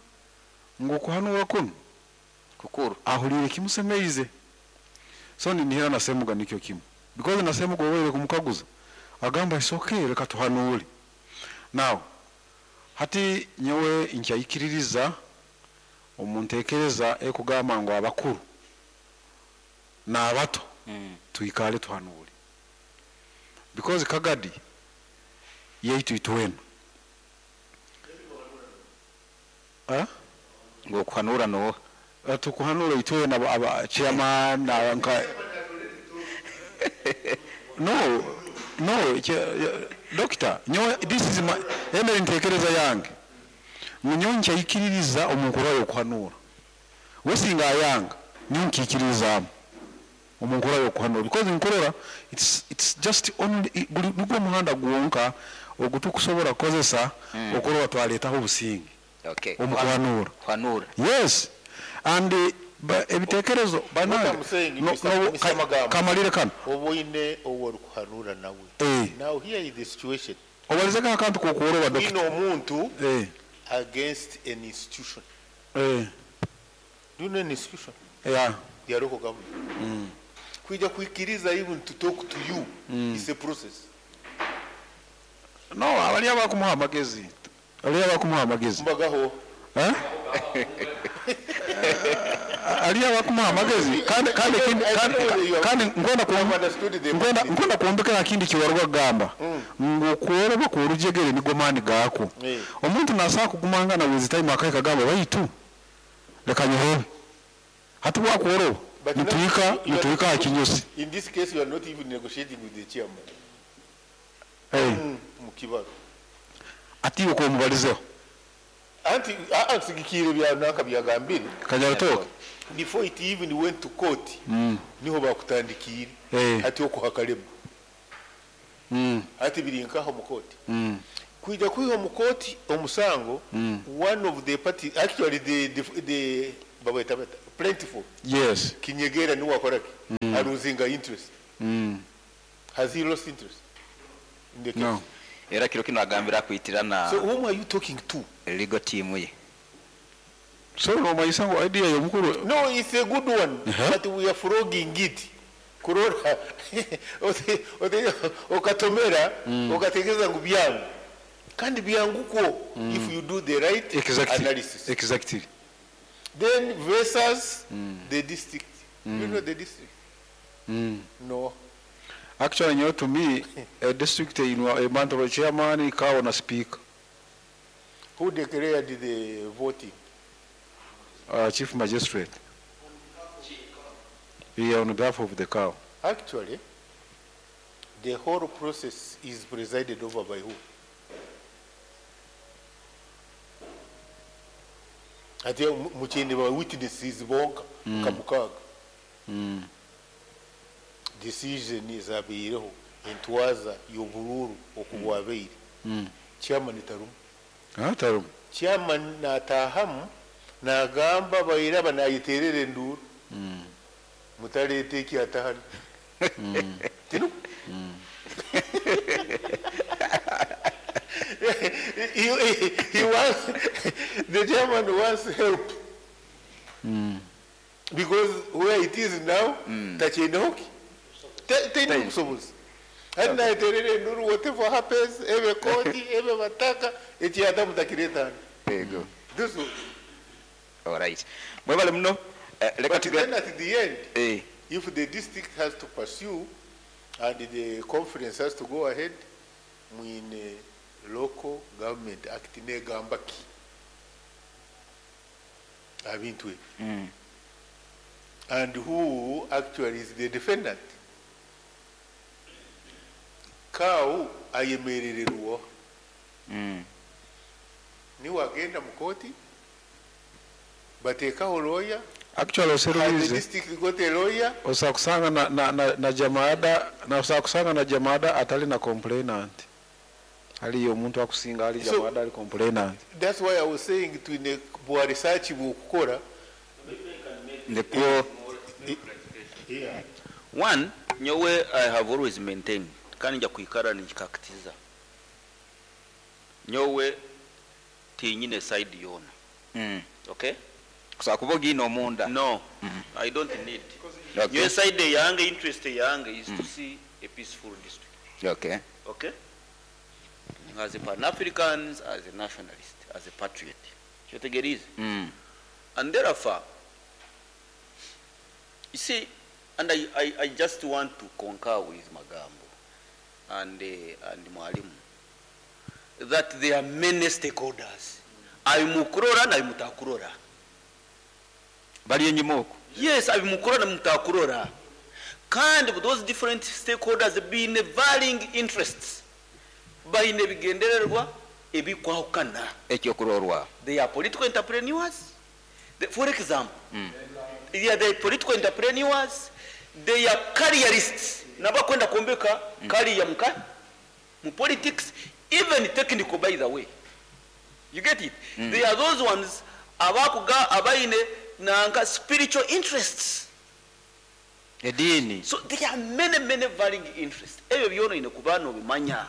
ngo kuhanura kuno kukuru ahulire kimusemeize. So ninihera nasemuga nikyo kimu because nasemuga wewe kumukaguza agamba it's okay reka tuhanure. Now hati nyewe nkyayikiririza omuntekereza ekugamba ngo abakuru n'abato tuikale tuhanure because Kagadi yeitu itwena ngo kuhanura no tukuhanura itwena aba chairman na nka no doctor nyo this is my emere ntekereza yange munyoncha ikiririza omukuru yo kuhanura wesinga yanga nyonkikiriza omukuru yo kuhanura because nkorora it's just only nugwo muhanda gwonka ogutukusobola kozesa okorora twaletaho obusinge. Okay. Omukuhanura. Kuhanura. Yes. And ebitekerezo banange no kamalire kano oboine oworukuhanura nawe. Now here is the situation. Obalizeka akantu kokuoroba doctor. Ino omuntu against an institution. Do you know an institution? Yeah. The local government. Kuja kuikiriza even to talk to you is a process. No, abali abakumuha amagezi. Ali abakumuha amagezi. Mbagaho. Ali abakumuha amagezi kandi kandi kandi ngonda kuombekera kindi kiwarwa gamba ngo kuoroba ku rujegere nigo mani gako. Omuntu nasa kugumanga na with time akaye kagamba baitu leka nyohobe hati wakuoroba nituika akinyusi. In this case you are not even negotiating with the chairman. Mukibaro ati uko mubalizeho anti ansigikire bya naka byagambire kanyaratoka before it even went to court niho bakutandikire ati okuhakalema. Ati biri nkaho mu kooti. Kwija kwiha omu kooti omusango, one of the party, actually the babweta bata plentiful. Yes. Kinyegera niwe akoraki? Aluzinga interest. Has he lost interest in the case? No. Era kiro kino agambira kwitirana. So whom are you talking to? Legal team ye. So nomanyisa ngu idea y'omukuru. No, it's a good one, but we are frogging it. Kurora okatomera okategeeza ngu byangu, kandi byangu kwo if you do the right analysis. Exactly. Then versus the district. You know the district? No. Actually, you know, to me, a district in a month chairman, cow na speaker. Who declared the voting? Chief magistrate. Yeah, on behalf of the cow. Actually, the whole process is presided over by who? Ate mukyende ba witnesses bonka kamukaga. Decision ezabaireho entwaza y'oburuuru okubwabaire. Chairman tarumu. Tarumu. Chairman natahamu nagamba bairaba nayiterera enduuru. Mutaleta ekyatahano. Tinu? He wants, the chairman wants help. Because where it is now, tachinehoki. Teni busobozi. Hadi nayeterera enduuru, whatever happens, ebe koti, ebe bataka, ekyata mutakireta. Ego. This one. All right. Mwebale muno. But then at the end, if the district has to pursue and the conference has to go ahead, mwine local government act negamba ki abintu ebyo. And who actually is the defendant? Cow ayemerererwa. Niwe agenda mu kooti bateekaho lawyer. Actually, The district got a lawyer. Osakusanga na jamaada, na osakusanga na jamaada atali na complainant. Ali omuntu akusinga ali jamaada ali complainant. That's why I was saying to in bwa research bwokukora. Ndiko. Yeah. One, nyowe I have always maintained kandi nja kuikara nikikakitiza. Nyowe tinyine side yona. Okay? Kusakuba gino omunda. No. I don't need. Okay. Your side yange, interest yange is to see a peaceful district. Okay. Okay? As a Pan-Africans, as a nationalist, as a patriot. Kyotegeerize. And therefore, you see, and I just want to concur with Magambo and Mwalimu that there are many stakeholders. Abimukurora na abimutakurora. Bali enyuma okwo. Yes, abimukurora na mutakurora. Kandi those different stakeholders being varying interests. Baine bigendererwa ebikwahukana. Ekyokurorwa. They are political entrepreneurs. For example, they are the political entrepreneurs, they are careerists. Nabakwenda kuombeka career muka mu politics, even technical, by the way. You get it? They are those ones abakuga abaine nanka spiritual interests. Edini. So there are many, many varying interests. Ebyo byono ine kubano bimanya.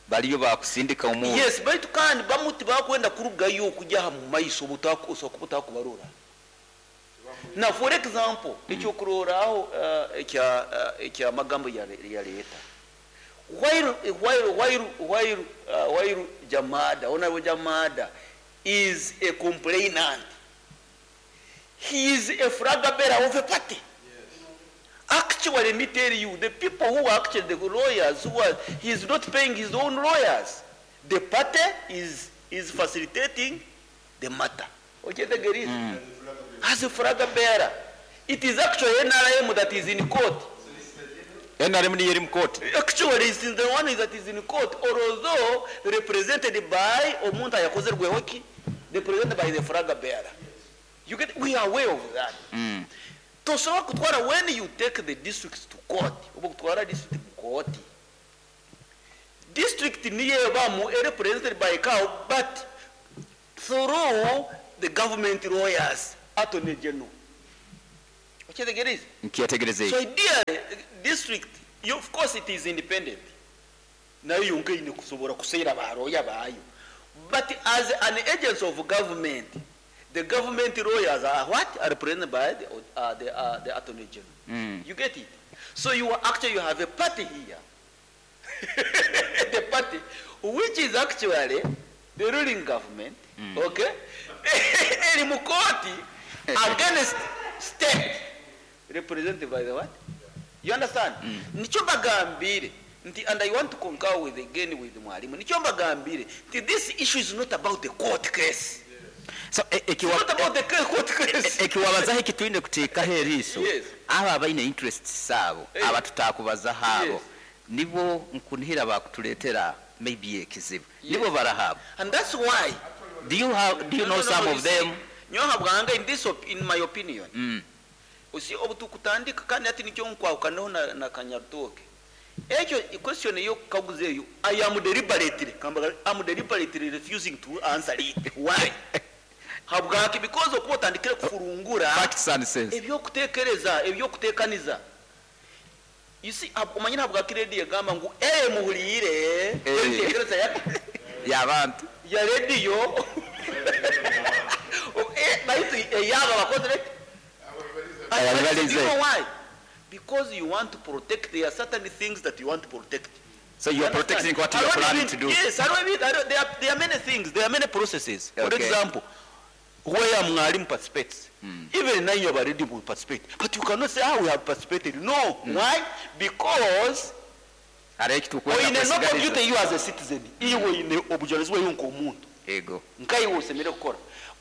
Baliyo bakusindika omuntu. Yes, baitu kandi bamuti bakwenda kurugayo okujja mu maiso butakubarora. Now for example, ekyokuroraaho ekya magambo ya leta. While Jamada, Honorable Jamada is a complainant, he is a flag bearer of a party. Yes. Actually, let me tell you, the people who are actually the lawyers, who are, he is not paying his own lawyers. The party is facilitating the matter. Okay, the is as a flag bearer. It is actually NRM that is in court. NRM ni in court. Actually, it's the one that is in court, although represented by omuntu yakozerweho ki, represented by the flag bearer. You get, we are aware of that. Tosobola kutwara when you take the districts to court, oba kutwara district mu court. District niyo ebamu represented by cow, but through the government lawyers, attorney general. Okyetegereza? Nkyetegereza. So ideally, district, you, of course it is independent. Nayo yonka ine kusobora kuseera baroya bayo. But as an agency of government, the government lawyers are what? Are represented by the attorney general. You get it? So you are actually, you have a party here. The party, which is actually the ruling government, okay? Eri mu court against state, represented by the what? You understand? Nikyo mbagambire nti, and I want to concur with again with mwalimu, nikyo mbagambire nti this issue is not about the court case. So It's not about the court case. Ekiwabazaho ekitwine kuteekaho eriiso, Yes. abo abaine interests abo, abatutakubazaho abo, nibo nkunihira bakutuleetera maybe ekizibu, nibo barahabo. And that's why Do you No, know no, no, some you of see, them? Nyoha bwanga in my opinion, usi obutukutandika kandi ati nikyo nkwahukanaho na Kanyarutoke. Ekyo question yo kukaguza eyo, I am deliberately kambaga, am deliberately refusing to answer it. Why? Habwaki? Because okuba otandikire kufurungura Facts and sense. Ebyokutekereza, ebyokutekaniza. You see, omanyire habwaki radio egamba ngu ee muhuliire entekereza ya y'abantu ya radio, baitu eyaba bakozere. Ababalize. You know why? Because you want to protect, there are certain things that you want to protect. So you are Understand? protecting what you are I don't planning even- to do. Yes, I don't even, I don't, there are many things, there are many processes. For example, where mwalimu participates. Even now you have already participate. But you cannot say how we have participated. No. Why? Because Hariho ekitukwenda oine no kwesigaliza. duty you as a citizen. Iwe oine obujunaanizibwa bwawe nk'omuntu. Ego. Nkaiwe osemere kukora.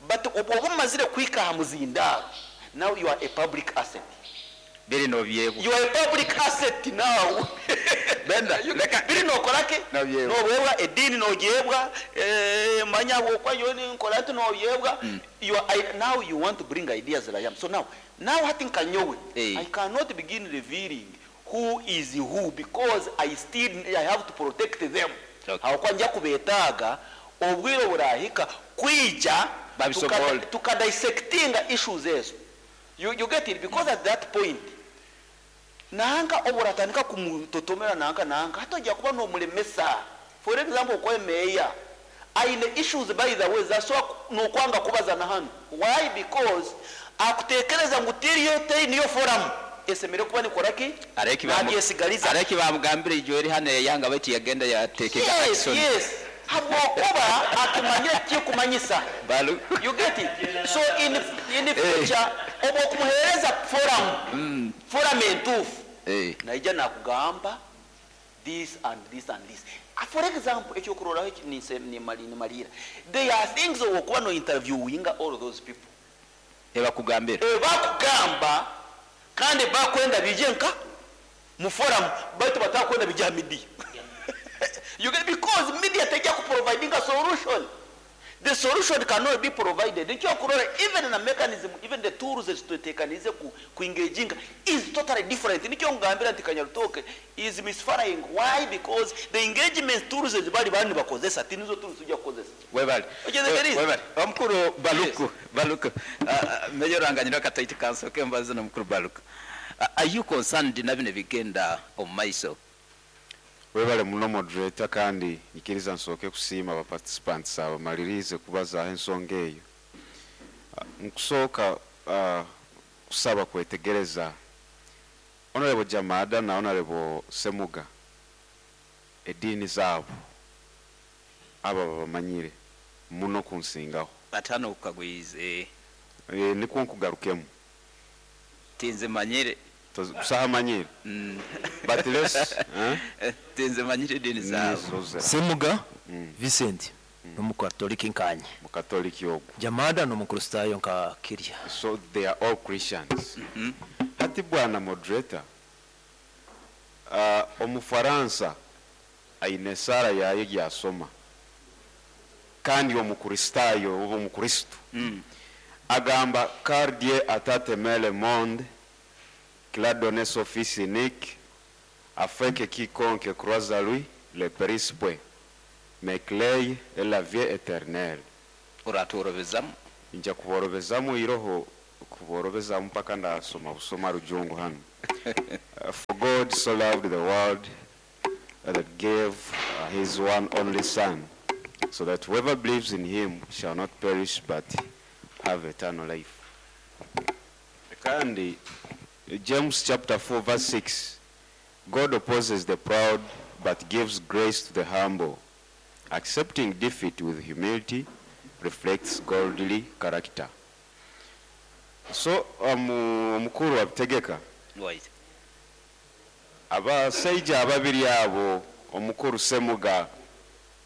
But obu omazire kuhika aha muzindaaro, now you are a public asset. Biri nobyebwa. You are a public asset now. Benda, leka biri nokorake? Nobyebwa. Nobyebwa edini nogyebwa, manya bwokwa yoni nkola nti nobyebwa. You are, I, now you want to bring ideas that I am. So now hati nkanyowe. I cannot begin revealing who is who because I still I have to protect them. Aho nja kubetaaga obwire burahika kwija Babisobole. Tukadissectinga issues ezo. You get it? Because at that point nanka oburatandika kumutotomera nanka hatojja kuba n'omulemesa. For example, okwe meya aine issues, by the way, zasobola n'okwanga kubaza na hano. Why? Because akutekereza ngu tiriyo teri niyo forum esemere kuba nikoraki nabyesigaliza. Areki bamugambire ijo eri hano yanga baitu yagenda yatekega action. Yes, habwokuba akimanyire kikumanyisa. Balu. You get it? So in the future oba okumuhereza forum entuufu, naija nakugamba this and this and this. For example, ekyokuroraho eki nimalira, there are things owokuba no interviewinga all those people Ebakugambira. Bakugamba kandi bakwenda bije nka mu forum, baitu batakwenda bija media. You get? Because media tejja kuproviding a solution. The solution cannot be provided. Ekyokurora, even na mechanism, even the tools ezitutekanize ku engaging is totally different. Nikyo ngambira nti Kanyarutoke is misfiring. Why? Because the engagement tools ezibali bani bakozesa tinizo tools tujja kukozesa. Webale. Okyeze. Webale. Omukuru Baluku, Baluku. Mayor Ranganyira kataiti kansoke mbaze n'omukuru Baluku. Are you concerned na bino bigenda omu maiso? Webale muno, moderator, kandi nyikiriza nsooke kusiima aba participants abamalirize kubazaaho ensonga eyo. Nkusooka kusaba kwetegereza Honorable Jamada na Honorable Semuga, eddiini zaabo abo babamanyire muno kunsingaho. Batano ukagwize. Nikwo nkugarukemu. Tinze manyire. Busaha manyire. But let's, eh? Tinze manyire dini zaabo. Nizo. Semuga Vincent n'umukatoliki nkanye. Mukatoliki ogwo. Jamada n'umukristayo nka kirya. So they are all Christians. Hati bwana moderator, omufaransa aine esara yaye gyasoma kandi omukristayo oba omukristo agamba, "Car Dieu a tant aimé le monde qu'il a donné son fils unique afin que quiconque croise à lui Ne périsse point, mais qu'il ait la vie éternelle. Oratworobezamu. Nja kuborobezamu iroho kuborobezamu mpaka ndasoma busoma rujungu hano. For God so loved the world that gave his one only son, so that whoever believes in him shall not perish but have eternal life. Kandi James chapter 4 verse 6, God opposes the proud but gives grace to the humble. Accepting defeat with humility reflects godly character. So omukuru wabitegeka. Right. Abasaija ababiri abo, omukuru Semuga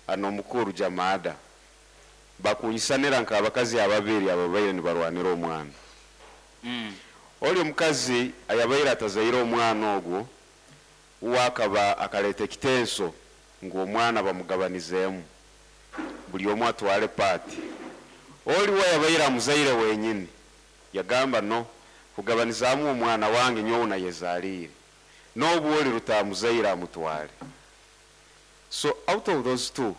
ano omukuru Jamada, bakunyisanira nk'abakazi ababiri abo babaire nibarwanira omwana. Oli omukazi ayabaire atazaire omwana ogwo, wakaba akaleta ekitenso ngu omwana bamugabanizeemu, buli omu atwale paati. Oli we yabaire amuzaire wenyini yagamba, no kugabanizaamu omwana wange nyowe nayezaaliire, n'obu oli rutamuzaire amutwale. So out of those two,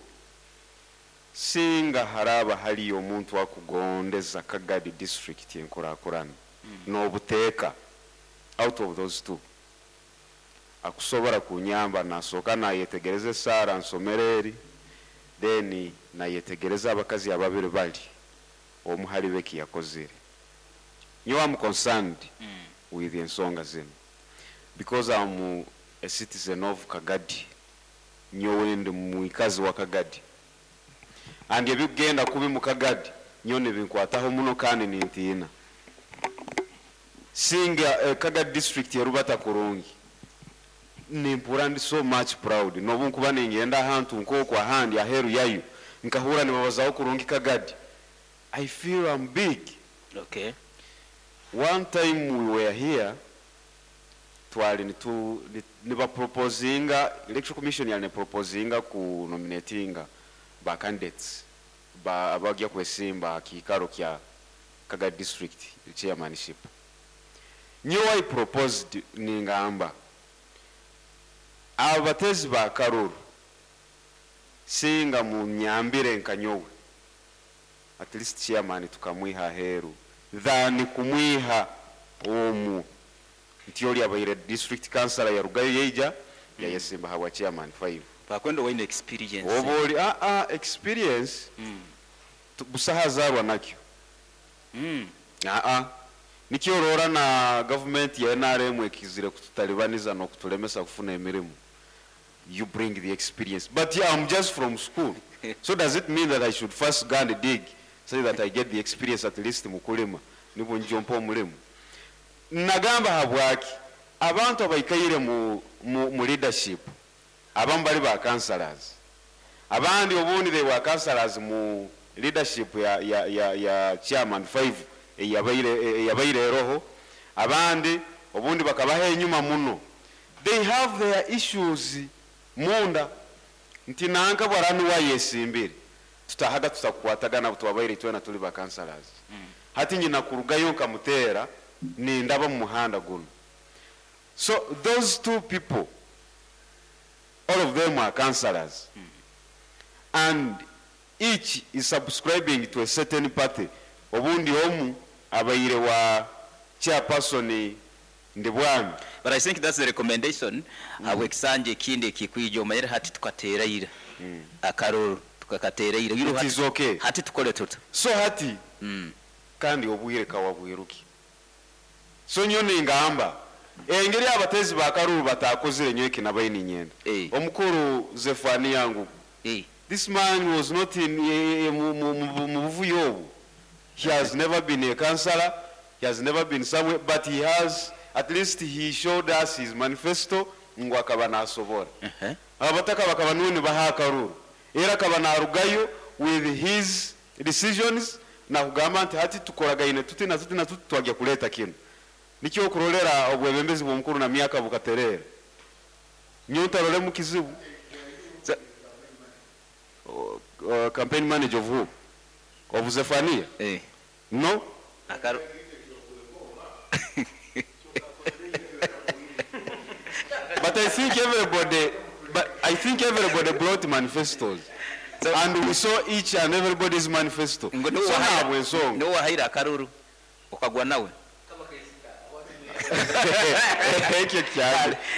singa haraba haliyo omuntu akugondeza Kagadi district enkurakurana n'obuteeka, out of those two akusobora kunyamba, nasooka nayetegereza esaara nsomero eri, then nayetegereza abakazi ababiri bali omu hali beki yakozire. Nyowe am concerned with ensonga zino because I'm a citizen of Kagadi. Nyowe ndi mwikazi wa Kagadi, and ebigenda kubi mu Kagadi nyowe nibinkwataho muno kandi nintiina. Singa Kagadi district yerubata kurungi, nimpura ndi so much proud. Nobu nkuba ningenda ahantu nk'oku ahandi aheru yayo, nkahura nibabazaho kurungi Kagadi, I feel I'm big. One time we were here, twali nibaproposinga, Electoral Commission yali neproposinga ku nominatinga ba candidates ba abagya kwesimba kiikaro kya Kagadi district chairmanship. Nyowe I proposed, ningamba abatezi ba karuru singa munyambire nka nyowe, at least chairman tukamwiha aheru than kumwiha omu nti oli abaire district councillor yarugayo yeija yayesimba habwa chairman 5. Bakwenda waine experience. Oba oli experience busaha azarwa nakyo. Nikyo orora na government ya NRM ekizire kututalibaniza n'okutulemesa kufuna emirimu. You bring the experience, but yeah, I'm just from school. So does it mean that I should first go and dig so that I get the experience at least mukulima nibwo njompa omulimu? Nagamba habwaki abantu abaikaire mu leadership, abamu bali ba councillors, abandi obundi they were councillors mu leadership ya chairman 5 eyabaire eroho, abandi obundi bakabaha enyuma muno. They have their issues munda nti nanka bwarani wayesimbire tutahaga tutakukwatagana twabaire twena tuli ba councillors. Hati nyina kurugayo nkamutera nindaba mu muhanda guno. So those two people, all of them are councillors, and each is subscribing to a certain party. Obundi omu abaire wa chairperson Ndibwami. But I think that's the recommendation. Habwekisanja ekindi ekikwija omanyire hati tukateeraira akaruru tukakateeraira. It is okay. Hati tukole tuta. So hati kandi obwire kawabwiruki. So nyo ningamba engeri abatezi bakaruru batakozire nyo ekinabaye ninyenda. Omukuru Zefania yangu. This man was not in mu buvuyo obu. He has never been a councillor. He has never been somewhere, but he has, at least he showed us his manifesto ngu akaba nasobora. Abataka bakaba nuni baha akaruru. Era akaba narugayo with his decisions na kugamba nti hati tukoragaine tuti na tuti na tuti twajya kuleta kino. Nikyo okurolera obwebembezi bw'omukuru na myaka bukaterera. Nyonta role mu kizibu. Campaign manager of who? Of Zephania? No. Akaru. But I think everybody But I think everybody brought manifestos. And we saw each and everybody's manifesto. Ngo So niwe wahaire- ntabwo ensonga. niwe wahaire akaruru ukagwa nawe. Ekyo kyali.